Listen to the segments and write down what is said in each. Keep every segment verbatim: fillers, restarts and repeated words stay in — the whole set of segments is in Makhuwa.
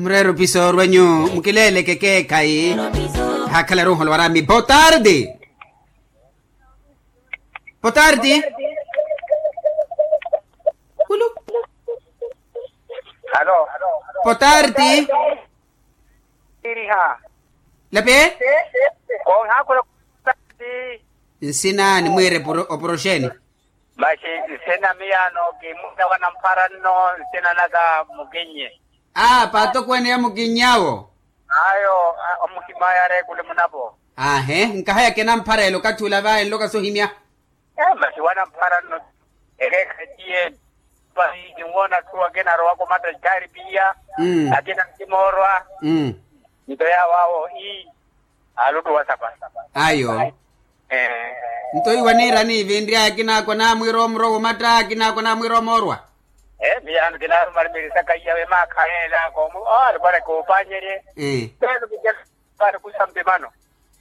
Mureero piso orwenyu, mukileeleke keekhayi. Haakhala ruuholo warami botardi. Botardi. Kulu. Alo. Botardi. Iriha. Lape. Konhakhula. Nsina ni mwiire oporoxeni. Maxi nsina miyano kimuna wanamphara nno. Nsina naka mukinnye. A paatokweene ya mukinnyawo. Ayo. Omuhimaya areekule munapo. Ahe nkahaya kinamphara ele okathi ula vaye nloka sohimya. Maxi wanamphara nno. Ekeekhaciye. Pahi ninwoona atthu akina arowaka omatta jaari piya. Akina nkimoorwa. Nto yaawo awo ii. Aluttuwa sapa. Ayo. Nto iwo aniirani vinry'aya akinaako anamwiira omurwa womatta akinaako anamwiira omoorwa. Miyaano kinaaruma arimiri saka iya vemaakha yeelaaka omu alikuwa nakoopannyerye. Pelo kijalu. Paari kusa mpimano.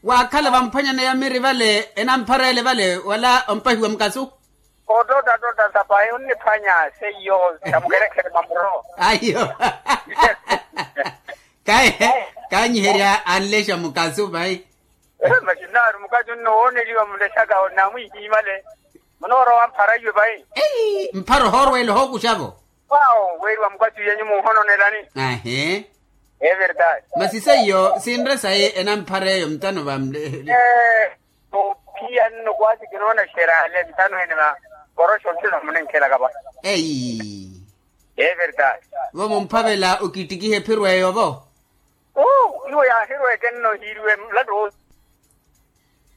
Waakhala vamphwanyana ya miri vale enamphara ele vale wala ompahiwa mukasu. Ototta totta sapahi onniphwanya seiyo. Samukerekhere mamuro. Ayo. Kaye. Kanyiherya anlexa mukasu vayi. Maxi nnaari mukasu nno wooneliwa mulexaka onamwihiimale. Munoorowa mphara iwe vayi. Mphara ohoorweela ohookuxavo. Wawo weeriwa mukasu yenyu muuhononelani. Ahe. Everdade. Masi seiyo sinre sayi enamphara eyo mutano vamle. Ophiya nno kwasi kinoona xerale mutano ene va. Koroxo ntino munenkhelaka va. Eyi. Everdade. Vo mumphavela okittikiha ephiro eyo vo. Iwo yaahirweke nno hiiriwe mulato.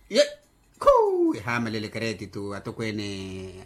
Ye. Khuu ehaamalele keretitu atokweene.